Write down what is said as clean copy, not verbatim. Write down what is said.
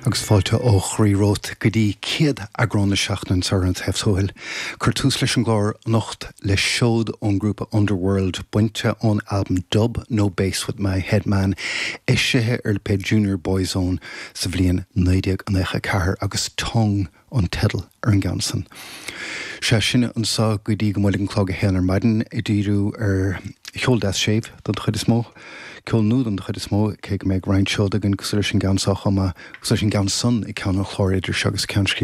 Agus fáilte ó chroí romhat go dtí céad eagrán na seachtaine anseo ar An Taobh Tuathail. Cuir tús leis an gclár anocht le seod ón ngrúpa Underworld, bainte ón albam Dub No Bass With My Head Man, eisithe ar lipéad Junior Boyzone sa bhliain 1994 agus Tongue an teideal ar an gceann san. Sea, sinne anseo go dtí go mbuailfidh an clog a haon ar maidin, ag díriú ar cheol deas séimh don chuid is mó, ceol nua don chuid is mó, cé go mbeidh roinnt seod againn cosúil leis an gceann seo chomh maith, cosúil leis an gceann san ag ceann an chláir idir seo agus ceann scríbe.